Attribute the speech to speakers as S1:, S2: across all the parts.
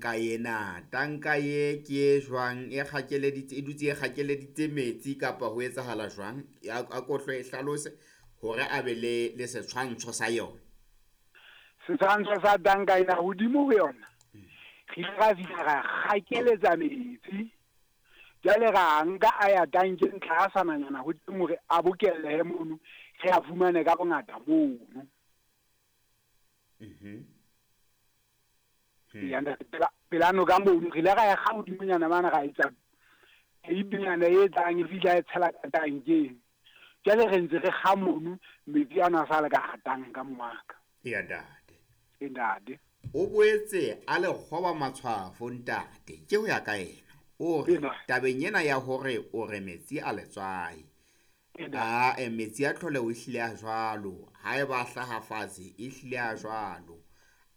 S1: tanka ena. Tanka ye ke e jwang? E kgakeleditse, e dutse e kgakeleditse metsi kapa ho etsahala jwang? A ko hle e hlalose hore a be le setshwantsho sa yona.
S2: Setshwantsho sa tanka ena hodimo ho yona, re ile ra fihla ra kgakeletsa metsi. Jwale ra nka a ya tankeng tlasananyana ho teng hore a bokellehe mono, re a fumane ka bongata mono. Ya ntate, pela noka mono re ile ra ya kga hodimonyana mane, ra etsa peipinyana e tlang e fihla e tshela ka tankeng. Jwale re ntse re kga mono, metsi ano a sa le ka hara tanka mongaka.
S1: Eya ntate.
S2: E ntate.
S1: O boetse a le kgoba matshwafo ntate, ke ho ya ka yena. O re tabeng ena ya hore o re metsi a letswai, a metsi a tlholeho e hlile a jwalo, haeba a hlaha fatshe e hlile a jwalo,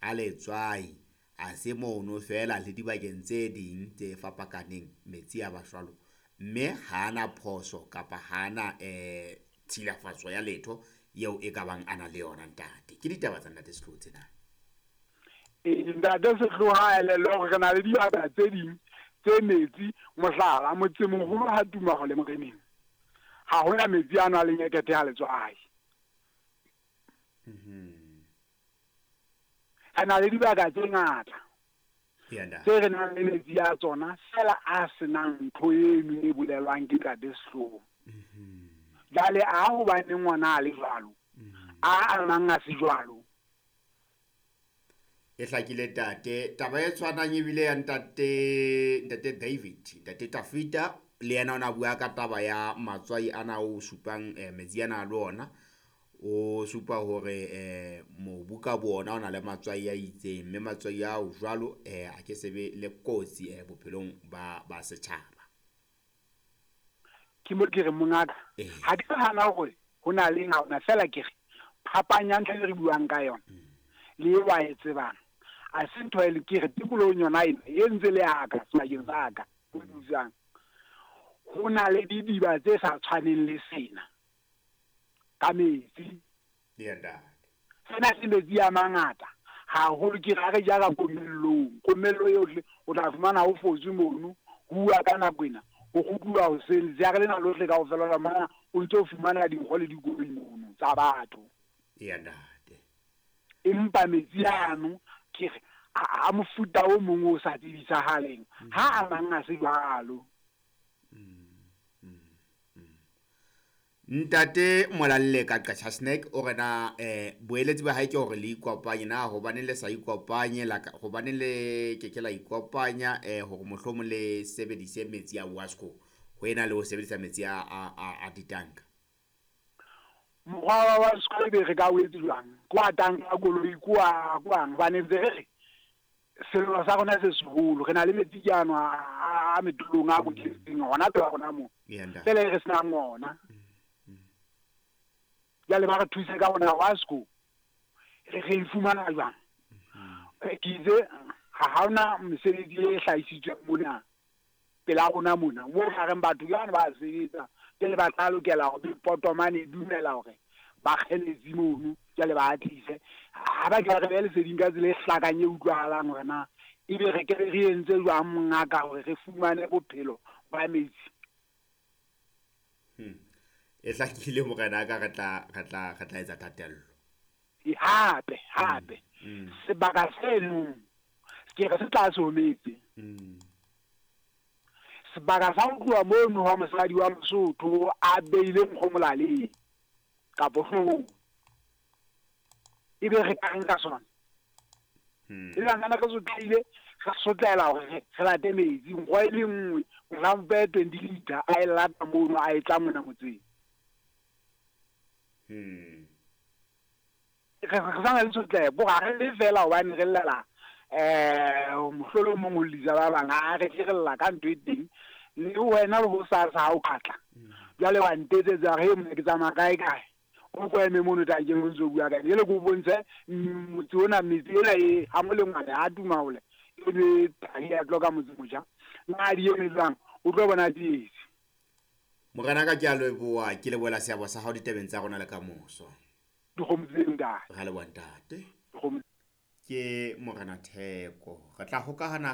S1: a letswai, a se mono fela le dibakeng tse ding tse fapakaneng metsi a ba jwalo, mme ha ana phoso kapa ha ana tshilafatso ya letho eo e ka bang ana le yona ntate. Ke ditaba tsa ntate Setlhoho tsena.
S2: Ntate Setlhoho ha elellwe hore re na le dibaka tse ding tse metsi, mohlala motsemoholo ha tuma ho le moreneng, ha hona metsi ano a leng ekete a letswai. Re na le dibaka tse ngata tse re nang le metsi a tsona fela a senang ntho eno e bolelwang ke ntate Setlhoho. Jwale a hobaneng ngwana a le jwalo, a amang a se jwalo.
S1: E hlakile tate. Taba e tshwanang ebile ya ntate David, ntate Tafita, le yena o na bua ka taba ya matswai ana o supang metsi ana le ona. O supa hore mobu ka bona o na le matswai a itseng, mme matswai ao jwalo a ke sebe le kotsi bophelong ba setjhaba.
S2: Ke mo ke re mongaka, ha ke hana hore ho na le ha ona fela ke re phapang ya ntho e re buang ka yona le e wa e tsebang. A se ntho e le ke re tikolohong yona ena e ntse le ya ka sebakeng sa ka ho dusang, ho na le didiba tse sa tshwaneng le sena ka metsi. Sena se metsi a mangata haholo, ke ra re jara komellong. Komello yohle o tla fumana ho fotswe mono, ho uwa ka nako ena, ho kgutluwa hoseng, letsheare lena lohle kaofela la mona o ntso fumana dinkgo le dikoloi mono tsa batho. Empa metsi ano ke re a mofuta o mong o sa tsebisahaleng, ha a mang a se jwalo.
S1: Ntate Molalle ka Qacha Snack o re na boeletsi ba hae ke hore le ikopanye na, hobane le sa ikopanye la ka, hobane le ke ke la ikopanya hore mohlomong le sebedise metsi a Wasco ho ena le ho sebedisa metsi a ditanka.
S2: Mokgwa wa Wasco ebe re ka o etse jwang? Ke wa tanka koloi, ke wa kwang? Hobane ntse re re sello sa rona se seholo, re na le metsi ke ano a metolong a boketseng hona pela rona moo. Fela e re senang ona. Jwale ba re thuse ka hona Wasco, re e fumana jwang? Ke itse ha hona mesebetsi e hlahisitsweng mona pela rona mona, moo ba reng batho jwang ba sebetsa, jwale ba tla lokela hore potomane e dumela hore ba kge metsi mono, jwale ba tlise. Ha ba ke ba re behe leseding ka tsela e hlakang e utlwahalang hore na ebe re ke re entse jwang mongaka hore re fumane bophelo ba metsi.
S1: E hlakile morena ka re tla etsa thatello.
S2: Hape hape sebaka seno ke re se tlase ho metsi. Sebaka sa ho tloha mono ha mosadi wa Mosotho a beile nkgo molaleng kapo hloohong, ebe re ka reng ka sona? E le ngwana re sotlehile, re sotlela hore re late metsi, nkgo e le nngwe mohlampe 20 liter a e lata mono a e tla mona motseng. Re sa na le sotleho, bo ha re le fela hobane re llela mohlolo o mong o llisa ba bang, ha re tle re lla ka ntho e teng. Le wena le ho sa ha o khatla. Jwale wa ntetsetsa re mona ke tsamaya kae kae. O ko eme mono tankeng o ntso bua ka ena. Jwale ke o bontshe motse ona, metsi ena e ha molengwane ha tuma hole. E be thari ya tloka motse motjha. Na di eme jwang? O tlo bona tsietsi.
S1: Morena ka ke a leboha, ke lebohela seabo sa hao ditabeng tsa rona le kamoso.
S2: Dikgomo tse ntate.
S1: Ra leboha ntate.
S2: Dikgomo.
S1: Ke Morena Theko. Re tla hokahana